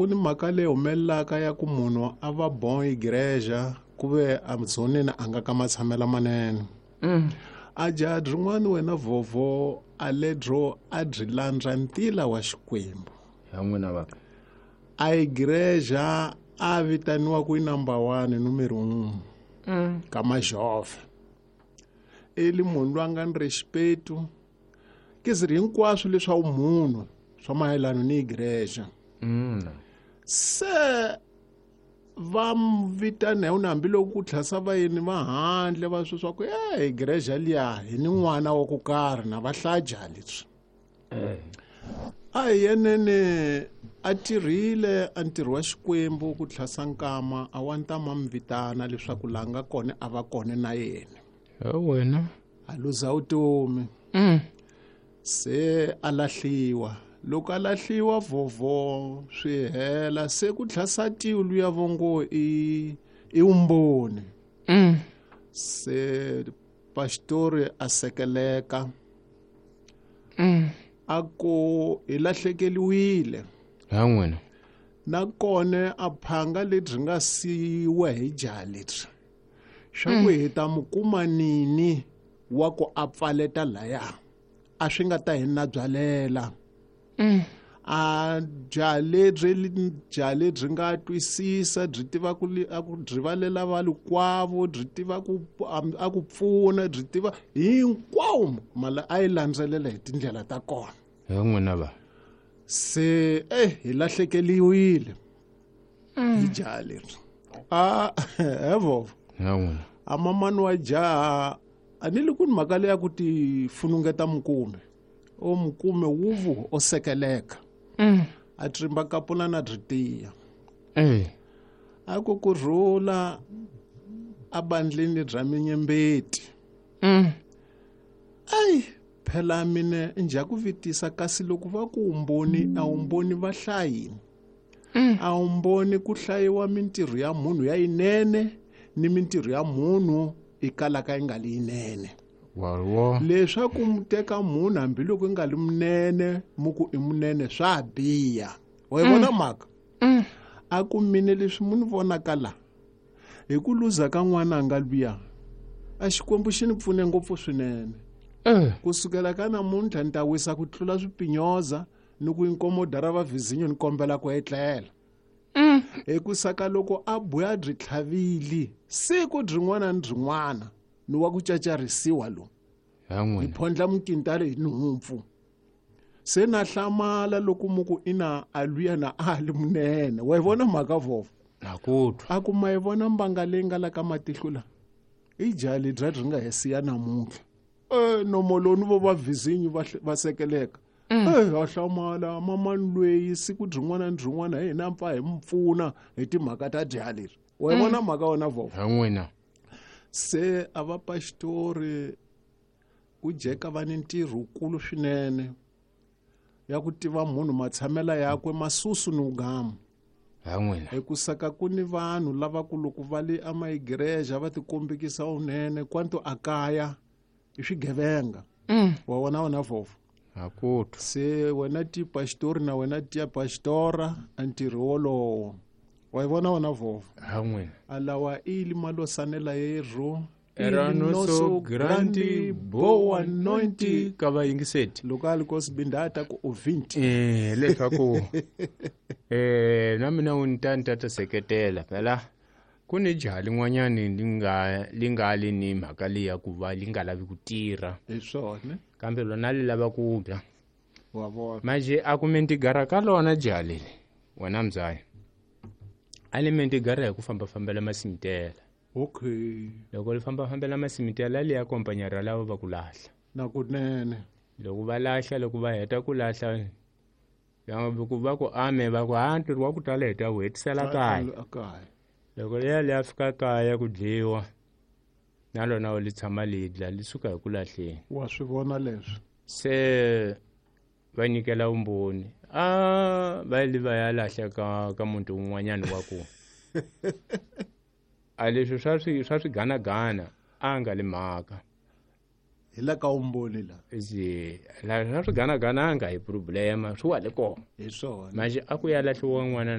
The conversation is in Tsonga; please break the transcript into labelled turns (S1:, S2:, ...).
S1: ku ni mhaka leyi humelelaka ya ku munhu a va bon igreja ku ve adzoneni a nga ka matshamela manene. A jaha rin'wana wena vovo a ledro a byi landza ntila wa Xikwembu.
S2: Ya n'wina va.
S1: A igreja a vitaniwa ku i number 1 numero 1. Ka majove. Eli munhu loyi a nga ni respect ke ziri hinkwaswo leswa munhu swa mayelana ni igreja. Se va vitana hi hambi loko ku tlhasa vayeni va handle va swi swa ku igreja liya hi ni n'wana wa ku karhi na va hlaja leswi. A hi yenene a tirhile a ntirho wa Xikwembu ku tlhasa nkama a wa ntama mi vitana leswaku la nga kona a va kona na yena.
S2: Wena
S1: a luza vutomi. Se a lahliwa. Loko a lahliwa vovo swi hela se ku tlhasa tilu ya vongo i umboni. Se pastori a sekeleka. A ku hi lahlekeliwile.
S2: Ha n'wina.
S1: Nakona a phanga lebyi nga siyiwa hi jaha lebyi. Xa ku hi ta mu kuma nini wa ku a pfaleta laya. A swi nga ta hi na byalela. A jaha lebyi nga twisisa byi tiva ku a ku byi valela valikwavo byi tiva ku a ku pfuna byi tiva hinkwawo mala a yi landzelela hi tindlela ta kona.
S2: Ha n'wina va.
S1: Se hi lahlekeliwile. Hi jaha leri. A evo.
S2: Ha n'wina.
S1: A mamani wa jaha a ni li ku ni mhaka leya ku ti funungeta mukume. O mukume wuvu o sekeleka. A trimba kapula na byi tiya. A ku kurhula a bandleni bya minyembeti. Ai phela mina nja ku vitisa kasi loko va ku umboni a umboni va hlayini. A umboni ku hlayiwa mintirho ya munhu ya yinene ni mintirho ya munhu i kalaka yi nga li yinene. Leswaku mu teka munhu hambiloko i nga li munene mu ku i munene swa biha. Wa yi vona mhaka? A ku mine leswi mu ni vonaka la hi ku luza ka n'wana a nga luya a Xikwembu xi ni pfune ngopfu swinene. Kusukela ka namuntlha ni ta wisa ku tlula swipinyoza ni ku inkomoda ra va vizinyo ni kombela ku etlela. Hi ku saka loko a buya byi tlhavili siku byin'wana ni byin'wana ni wa ku cacarisiwa lo. Ni phondla mukintale hi nhumpfu. Se na hlamala loko mu ku ina a luya na a li munene. Wa yi vona mhaka vovo?
S2: Na ku twa.
S1: A ku ma yi vona mbanga leyi nga la ka matihlo la? I jaha lebyi byi nga hi siya namuntlha. Nomo lowu vo va vizinyo va sekeleka. Ha hlamala mamani loyi siku byin'wana ni byin'wana hi hina pfa hi mu pfuna hi timhaka ta jaha leri. Wa yi vona mhaka wena vovo?
S2: Ha n'wina.
S1: Se a va pastori ku jeka va ni ntirho wukulu swinene ya ku tiva munhu matshamela yakwe masusu ni ugama.
S2: Ha n'wina.
S1: Hi ku saka ku ni vanhu lava ku loko va le amaigreja va tikombekisa unene kwanto a kaya i swigevenga. Wa vona wena vovo?
S2: Ha ku twa.
S1: Se wena ti pastori na wena ti pastora a ntirho wolowo. Wa yi vona wena vovo?
S2: Ha n'wina.
S1: A lawa i li malosanela yerhu.
S2: Era nosso grande boa noite ka vayingiseti.
S1: Loko a li ko sibindata ku o 20.
S2: Leswaku na mina u ni ta ni ta ta seketela phela ku ni jaha lin'wanyani li nga li ni mhaka leyi ya ku va li nga lavi ku tirha.
S1: Hi swona.
S2: Kambe lona li lava ku dya.
S1: Wa vona.
S2: Manje a ku mentigara ka lona jaha leli wena mzaya. A li mentigara hi ku fambafambela masimitela.
S1: Okay.
S2: Loko li fambafambela masimitela li ya kompanyara lava va ku lahla.
S1: Na kunene.
S2: Loko va lahla, loko va heta ku lahla, loko va ku ame va ku ha ntirho wa ku tala hi ta wu hetisela kaya.
S1: Kaya.
S2: Loko liya li ya fika kaya ku dyiwa na lona li tshama li dla li suka hi ku lahleni.
S1: Wa swi vona leswi.
S2: Se va nyikela vumbhoni. A va li va ya lahla ka muti wun'wanyana wa ku. A leswi swa swiganagana a nga li mhaka.
S1: Hi la ka vumbhoni la.
S2: Zi, la swa swiganagana a nga hi problema, swi wa le kona.
S1: Hi swona.
S2: Manje a ku ya lahliwa n'wana